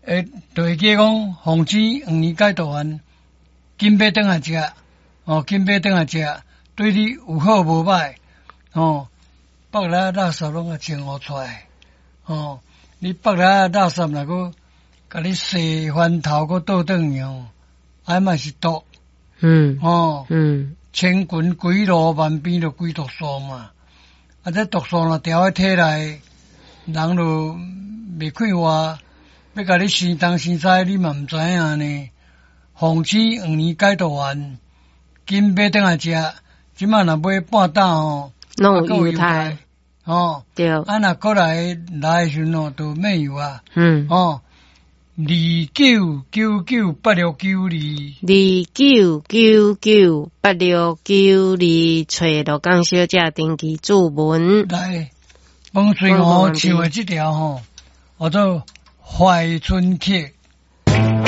會就會記講，鳳青黃連解毒丸，緊買轉來食，哦，緊買轉來食，對你有好無歹，哦，腹內垃圾攏共清予出來，哦，你腹內垃圾若閣共你洗翻頭閣倒轉去吼，啊嘛是毒，哦，千群鬼路萬變就歸毒素嘛，啊，這毒素若牢佇體內，人就袂快活，欲共你生東生西，你嘛毋知影呢。鳳青黃連解毒丸，緊買轉來食，這馬若買半打吼，攏有優待，哦，對，啊若閣來來的時陣吼，就免油啊，哦，29998692，29998692，揣鹿港小姐登記注文。來，王翠娥唱的這條吼，叫做《懷春曲》。